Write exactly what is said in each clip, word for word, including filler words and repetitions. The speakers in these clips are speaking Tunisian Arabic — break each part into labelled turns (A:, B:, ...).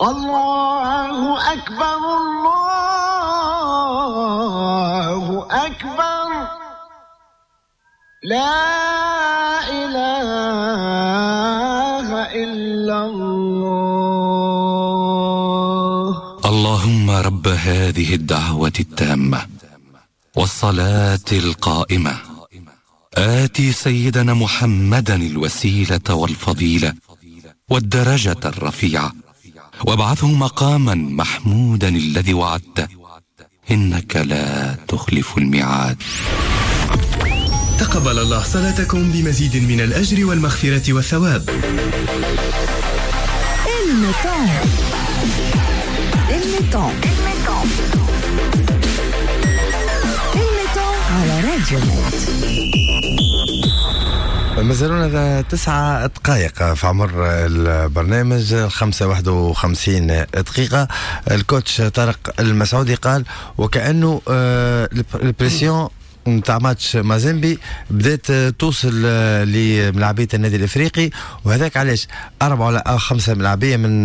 A: الله أكبر الله أكبر لا إله إلا الله.
B: اللهم رب هذه الدعوة التامة والصلاة القائمة، آتي سيدنا محمدا الوسيلة والفضيلة والدرجة الرفيعة، وابعثه مقاما محمودا الذي وعدته، إنك لا تخلف الميعاد.
C: تقبل الله صلاتكم بمزيد من الأجر والمغفرة والثواب.
D: الميتون الميتون الميتون على راديو نت.
E: مازالونا تسعة دقائق في عمر البرنامج، الخمسة واحد وخمسين دقيقة. ال coach طارق المسعودي قال وكأنه ال pression نتاع ماتش مازيمبي بدات توصل لملاعبيه النادي الافريقي، وهذاك علاش اربعة ولا خمسة ملاعبيه من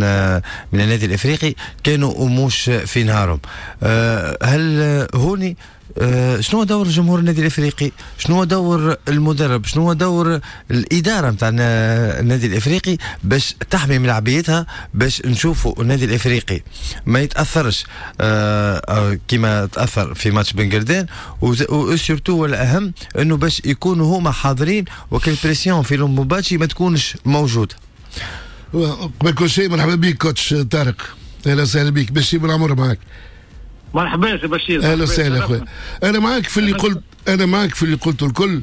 E: من النادي الافريقي كانوا مش في نهارهم. هل هوني شنو دور جمهور النادي الافريقي؟ شنو دور المدرب؟ شنو دور الادارة نتاع النادي الافريقي باش تحمي ملاعبيتها، باش نشوفوا النادي الافريقي ما يتاثرش كما تاثر في ماتش بن قردان، و surtout والاهم انه باش يكونوا هما حاضرين وكل pression في لومبومباتشي ما تكونش موجودة.
F: قبل كل شيء مرحبا بك coach طارق، اهلا وسهلا بك. بشير بن عمر معك.
G: مرحبا يا بشير.
F: اهلا وسهلا اخويا. انا معاك في اللي قلت، انا معاك في اللي قلته الكل،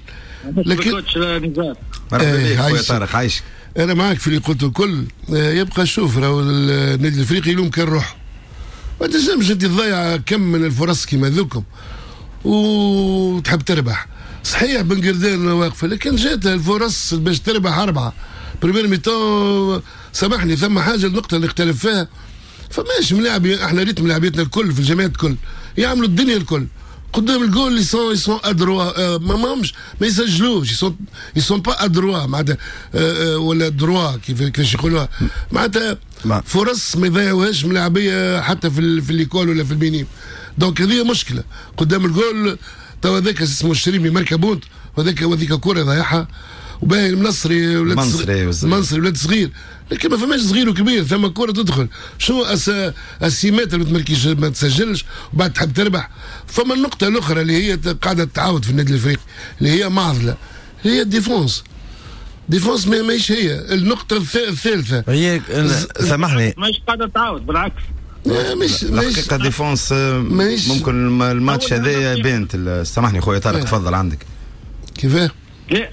G: لكن coach نزار.
H: مرحبا بك خويا طارق، عايشك.
F: انا معاك في اللي قلته الكل. يبقى شوف راهو النادي الافريقي اليوم كان روح، ما تنجمش انت تضيع كم من الفرص كيما ذوكم وتحب تربح. صحيح بن قردان واقفة، لكن جات الفرص باش تربح اربعة première mi-temps. سامحني ثم حاجة، النقطة اللي اختلف فيها، فماش ملاعب. احنا ريت ملاعبيتنا الكل في الجامعات الكل يعملوا الدنيا الكل قدام الجول، ils sont ils sont adroits، ما ماهمش ما يسجلوش، ils sont ils sont pas adroits معناتها، ولا droits كيف كيفاش يقولوها معناتها. فرص ما يضيعوهاش ملاعبيه حتى في في l'école ولا في ال minimes. donc هذه مشكلة قدام الجول. تو هذاك اسمه الشريمي ماركا but، وهذاك وهذيك كره ضيعها، وباهي المنصري ولاد المنصري ولاد صغير، لكن ما فماش صغير وكبير، ثم كرة تدخل. شنو السيمات اللي ما تمركيش ما تسجلش وبعد تحب تربح. فما النقطة الأخرى اللي هي قاعدة تعاود في النادي الأفريقي اللي هي معضلة، هي ال défense. défense ماهيش هي النقطة الثالثة.
E: هي سامحني
G: ماهيش قاعدة تعاود، بالعكس.
F: مش
H: الحقيقة défense ممكن الماتش هذايا بانت. سامحني خويا طارق، تفضل عندك.
F: كيفاه؟
G: لا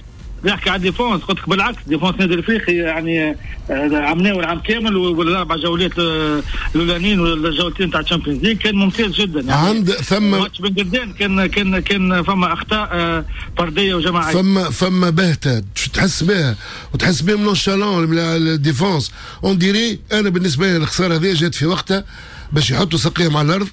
G: نحكي على défense، قلت لك بالعكس défense النادي الافريقي يعني عملناه العام كامل والاربع جولات الاولانيين والجولتين تاع ال Champions League كان ممتاز جدا. يعني
F: عند ثم
G: ماتش بن قردان كان كان كان فما اخطاء فردية وجماعيه،
F: فما فما بهته تحس بها وتحس بهم nonchalants ال défense on dirait. انا بالنسبة لي الخسارة هذه جات في وقتها باش يحطوا ساقيهم على الارض،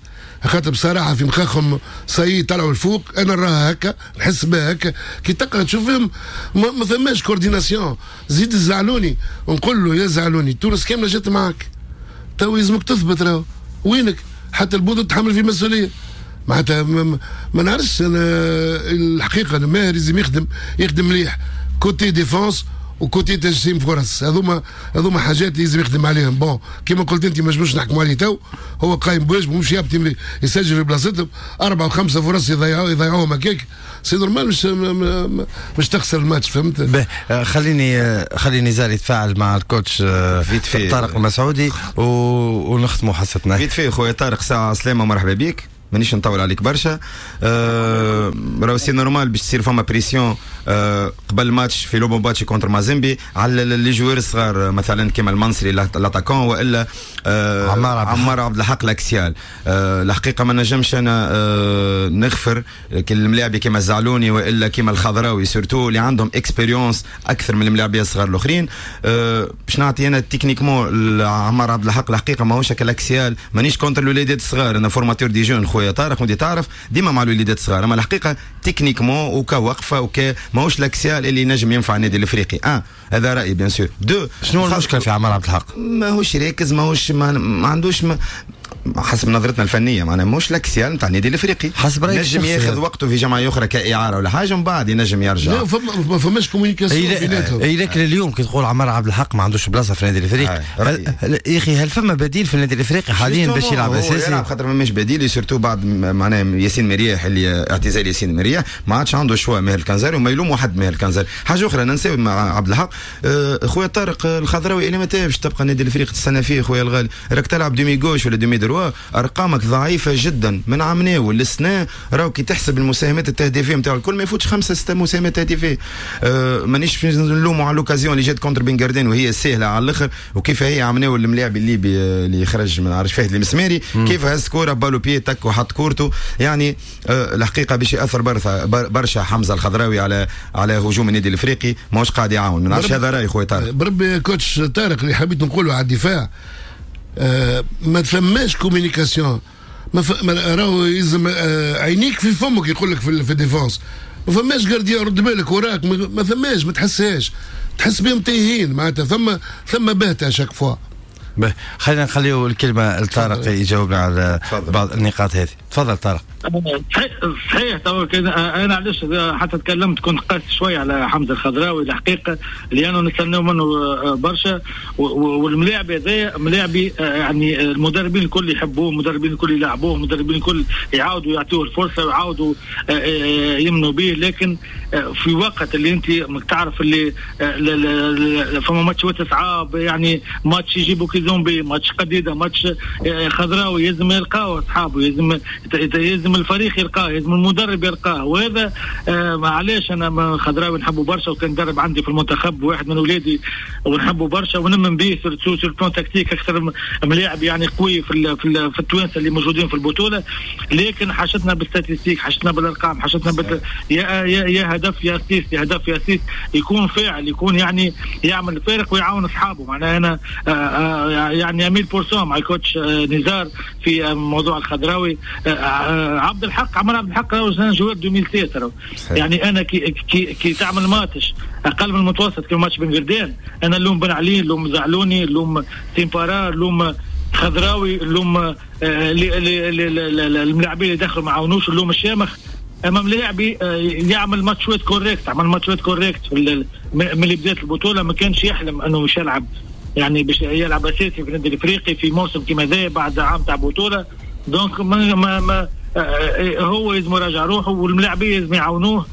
F: خاطر بصراحة في مخاخهم سي طلعوا الفوق. انا نراها هكا، نحس بها هكا كي تقرا تشوفهم ما, ما ثماش coordination. زيد الزعلوني نقول له يا زعلوني تونس كاملة جات معاك، تو يلزمك تثبت راهو وينك، حتى البوط تحمل في مسؤولية معناتها. ما, ما نعرفش انا الحقيقة، انا ماهر لازم يخدم يخدم مليح côté défense و côté تجسيم فرص، هذوما هذوما حاجات لازم يخدم عليهم. bon كيما قلت انت ما نجموش نحكموا عليه تو، هو قايم بواجبه مش يابط يسجل في بلاصتهم اربع وخمسة فرص يضيعوا يضيعوهم هكاك، c'est normal مش مش تخسر الماتش، فهمت؟
E: به خليني خليني نزار يتفاعل مع ال coach طارق المسعودي ونختموا حصتنا.
H: vite fait خويا طارق، ساعة سلامه ومرحبا بك. مانيش نطول عليك برشا. أه راهو c'est normal باش تصير فما pression أه قبل ماتش في لوبومباتشي contre مازيمبي على les joueurs الصغار، مثلا كيما المنصري l'attaquant والا أه عمار عبد عمار عبد الحق l'axial. أه الحقيقة ما نجمش انا أه نغفر كل الملاعبي كيما الزعلوني والا كيما الخضراوي surtout اللي عندهم expérience اكثر من الملاعبيه الصغار الاخرين. أه باش نعطي انا techniquement عمار عبد الحق الحقيقة ماهوش l'axial، مانيش contre الوليدات الصغار، انا formateur des jeunes خويا خويا طارق وانت تعرف ديما مع الوليدات الصغار، اما الحقيقة techniquement وكوقفه وك ماهوش l'axial اللي نجم ينفع النادي الافريقي. un هذا رايي bien sûr. deux
E: شنو المشكلة في عمار عبد الحق؟
H: ماهوش راكز، ماهوش ما, ما عندوش ما حسب نظرتنا الفنية معناها مش l'axial نتاع النادي الافريقي.
E: حسب رايك
H: نجم ياخذ وقته في جمعية اخرى كاعاره ولا حاجة، من بعد ينجم يرجع.
F: لا فما ما فماش communication بيناتهم.
E: اي لكن اليوم كي تقول عمار عبد الحق ما عندوش بلاصة في النادي الافريقي، يا اخي هل فما بديل في النادي الافريقي حاليا باش يلعب اساسي؟
H: يلعب خاطر ما بديل، surtout بعد معناها ياسين مرياح اللي اعتزال ياسين مرياح ما عادش عنده choix ماهر الكنزاري، وما يلوموا حد ماهر الكنزاري. حاجة اخرى ننساو مع عبد الحق، خويا طارق الخضراوي اللي متى باش تبقى النادي الافريقي تستنى فيه خويا الغالي؟ راك تلعب demi gauche ولا demi droit، ارقامك ضعيفة جدا من عام ناول للسنة. راهو كي تحسب المساهمات التهديفيه نتاعو الكل ما يفوتش خمسة ستة مساهمات تهديفيه. أه مانيش نلوموا على l'occasion اللي جات contre بن قردان وهي سهلة على الاخر، وكيف هي عام ناول الملاعب الليبي اللي خرج من عرش فهد المسماري كيف هز كورة balle au pied تك وحط كورته. يعني أه الحقيقة باش ياثر برشا حمزة الخضراوي على على هجوم النادي الافريقي، ماهوش قاعد يعاون. ما نعرفش، هذا راي خويا طارق.
F: بربي coach طارق اللي حبيت نقوله على الدفاع، آه ما ثماش communication. ما ف... راهو يلزم آه عينيك في فمك يقول لك في, في ال défense ما فماش gardien رد بالك وراك، ما, ما ثماش، ما تحسهاش، تحس بهم تايهين معناتها، ثم ثم بهته chaque fois.
E: خلينا نخليو الكلمة لطارق يجاوبنا على بعض النقاط هذه. تفضل طارق.
G: صحيح صحيح تو انا علاش حتى تكلمت كنت قاسي شوية على حمزة الخضراوي الحقيقة، لانه نستناو منه برشا، والملاعب هذايا ملاعبي يعني المدربين الكل يحبوه، المدربين الكل يلعبوه، المدربين الكل يعاودوا يعطوه الفرصة ويعاودوا يمنوا به. لكن في وقت اللي انت تعرف اللي فما ماتشات صعاب، يعني ماتش يجيبوا كيزومبي، ماتش قديده، ماتش خضراوي، يلزم يلقاو اصحابه، يلزم يلزم الفريق يلقاه، يلزم المدرب يلقاه. وهذا آه علاش انا خضراوي نحبه برشا، وكان درب عندي في المنتخب واحد من ولادي ونحبه برشا ونمن به surtout sur plan tactique اكثر ملاعب يعني قوي في في, في التوانسة اللي موجودين في البطولة. لكن حاجتنا بال statistiques، حاجتنا بالارقام، حاجتنا بال... يا يا يا هدف يا assist، يا هدف يا assist، يكون فاعل، يكون يعني يعمل الفارق ويعاون اصحابه. معناها انا آه آه يعني مية بالمية مع ال coach آه نزار في موضوع الخضراوي. آه عبد الحق عمر عبد الحق راهو joueur ألفين وستة، يعني انا كي كي, كي تعمل ماتش اقل من المتوسط كيما ماتش بن قردان، انا اللوم بن علي، اللوم زعلوني، اللوم تيمبارا، اللوم خضراوي، اللوم الملاعبين اللي دخلوا ما عاونوش، اللوم الشامخ. اما ملاعبي يعمل ماتشات correctes، عمل ماتشات correctes من اللي بدات البطولة، ما كانش يحلم انه مش يلعب يعني باش يلعب اساسي في النادي الافريقي في موسم كيما ذا بعد عام تاع بطوله. donc ما, ما, ما هو لازم يراجع روحه، والملاعبيه لازم يعاونوه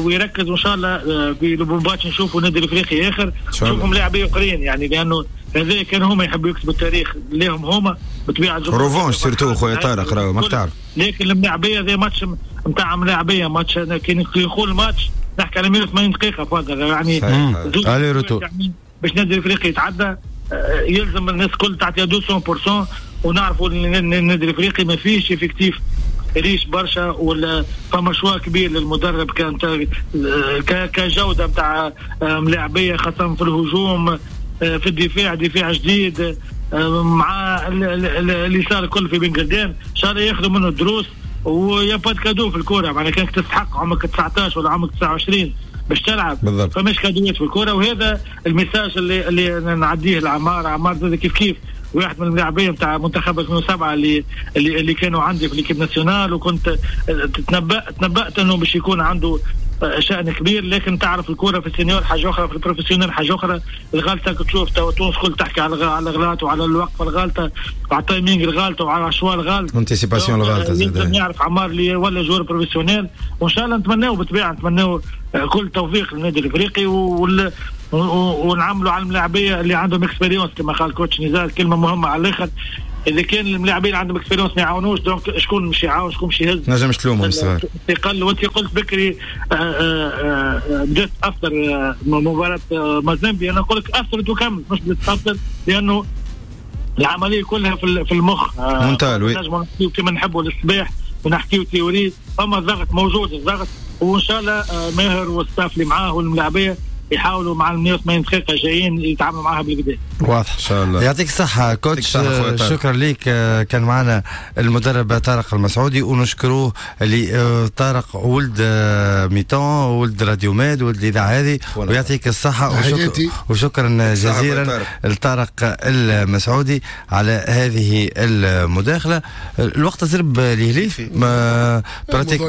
G: ويركز، وان شاء الله في لوبومباتش نشوفوا النادي الافريقي اخر، نشوفوا ملاعبيه اخرين، يعني لانه هذا كان هما يحبوا يكتبوا التاريخ لهم هما بالطبيعة.
H: revanche surtout خويا طارق راهو ماك تعرف،
G: لكن الملاعبيه ذا ماتش نتاع ملاعبيه، ماتش كي يقول ماتش نحكي على مية وثمانين دقيقة فاضل يعني
E: aller-retour
G: يعني باش النادي الافريقي يتعدى يلزم الناس الكل تعطيها مية بالمية، ونعرفوا ان النادي الافريقي ما فيش effectif riche برشا ولا فما choix كبير للمدرب كان كجوده نتاع ملاعبيه، خاصة في الهجوم، في الدفاع، دفاع جديد مع اللي صار الكل في بن قردان، ان شاء الله ياخذوا منه الدروس. و y a pas cadeau في الكورة، معناها كانك تستحق عمرك تسعطاش ولا عمرك تسعة وعشرين باش تلعب، فماش كادوات في الكورة. وهذا ال message اللي اللي نعديه لعمار، عمار زاد كيف كيف واحد من اللاعبين نتاع منتخب ألفين وسبعة اللي اللي اللي كانوا عندي في l'équipe nationale، وكنت تنبأ تنبأت انه باش يكون عنده شأن كبير. لكن تعرف الكورة في ال senior حاجة اخرى، في ال professionnel حاجة اخرى. الغلطة تشوف تو تونس كل تحكي على على الغلط وعلى الوقفة الغلطة وعلى ال timing الغلطة وعلى ال choix الغلط،
H: anticipation الغلطة.
G: لازم يعرف عمار اللي ولا joueur professionnel، وان شاء الله نتمناو بالطبيعة نتمناو كل توفيق للنادي الافريقي، وال ونعملوا على الملاعبيه اللي عندهم expérience كما قال coach نزار، كلمة مهمة على الاخر. اذا كان الملاعبين عندهم expérience ما يعاونوش، donc شكون مش يعاون، شكون مش يهز،
H: نجمش تلومهم صغار.
G: قال وانت قلت بكري بدات تاثر مباراة مازيمبي، انا نقول لك اثرت وكملت، مش بدات تاثر، لانه العملية كلها في المخ
H: mental. oui
G: نجموا نحكيو كما نحبوا للصباح ونحكيو théorie، فما الضغط موجود الضغط، وان شاء الله ماهر وال staff اللي معاه والملاعبيه يحاولوا مع ال مية وثمانين دقيقة جايين يتعاملوا معها بالكدا.
E: واضح ان شاء الله. يعطيك الصحة coach، شكرا لك. كان معنا المدرب طارق المسعودي ونشكروه اللي طارق ولد Mi-temps، ولد راديو ماد، ولد الاذاعة هذه، ويعطيك الصحة وشكرا, وشكرا جزيلا لطارق المسعودي على هذه المداخلة. الوقت زرب لهليف ما pratique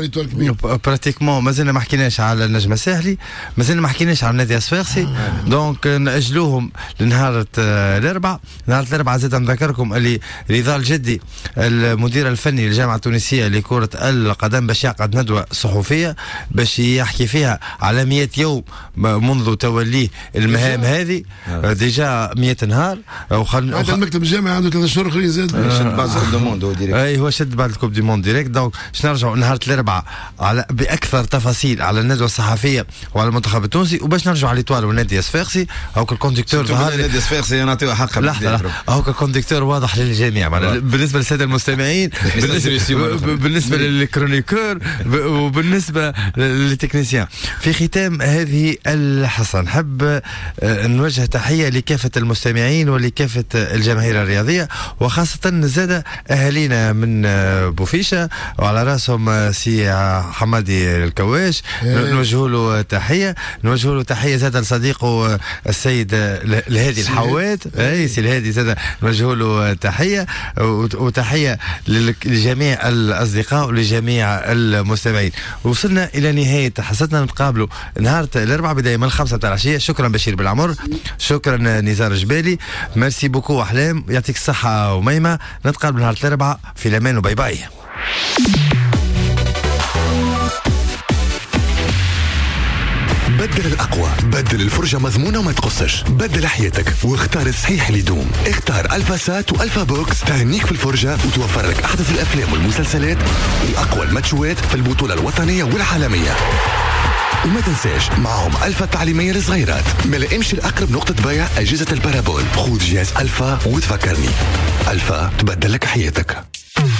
E: pratiquement مازلنا ما حكيناش على النجم الساحلي، مازلنا ما حكيناش على النادي الصفاقسي، donc نأجلوهم لنهار الاربعاء. نهار الاربعاء زاد نذكركم اللي رضا الجدي المدير الفني للجامعة التونسية لكرة القدم باش يعقد ندوه صحفية باش يحكي فيها على مئة يوم منذ توليه المهام هذه، déjà مئة نهار.
F: وخل... هذا المكتب الجامعي عنده ثلاث شهور اخرين زاد
H: شد بعد ال coupe du monde direct.
E: اي هو شد بعد ال coupe du monde direct. donc باش نرجعوا نهار الاربعاء على باكثر تفاصيل على الندوة الصحفية وعلى المنتخب التونسي، وباش نرجعوا على l'Étoile والنادي الصفاقسي. هاك ال conducteur
H: ظهر النادي الصفاقسي نعطيو حقه.
E: لحظة، هاك ال conducteur واضح للجميع بالنسبة للسادة المستمعين، بالنسبة بالنسبة لل chroniqueur، وبالنسبة لل technicien. في ختام هذه الحصة نحب نوجه تحية لكافة المستمعين ولكافه الجماهير الرياضية، وخاصة زاد اهالينا من بوفيشه وعلى راسهم سي حمادي الكواش، نوجه له تحية. نوجه له تحية زاد لصديقه السيد الهادي الحوات، اي سي الهادي زاد نوجه له تحية، وتحية لجميع الاصدقاء ولجميع المستمعين. وصلنا الى نهاية حصتنا، نتقابلوا نهار الاربعاء بداية من الخمسة تاع العشية. شكرا بشير بالعمر، شكرا نزار جبالي، merci beaucoup احلام، يعطيك الصحة وميمه. نتقابل نهار الاربعاء في الامان و bye bye.
I: بدل الأقوى، بدل الفرجة مضمونة وما تقصش، بدل حياتك واختار الصحيح اللي يدوم. اختار ألفا سات وألفا بوكس، تهنيك في الفرجة وتوفر لك أحدث الأفلام والمسلسلات وأقوى الماتشوات في البطولة الوطنية والعالمية. وما تنساش معهم ألفا التعليمية للصغيرات. ما امشي لأقرب نقطة بيع أجهزة ال parabole، خذ جهاز ألفا وتفكرني. ألفا تبدل لك حياتك.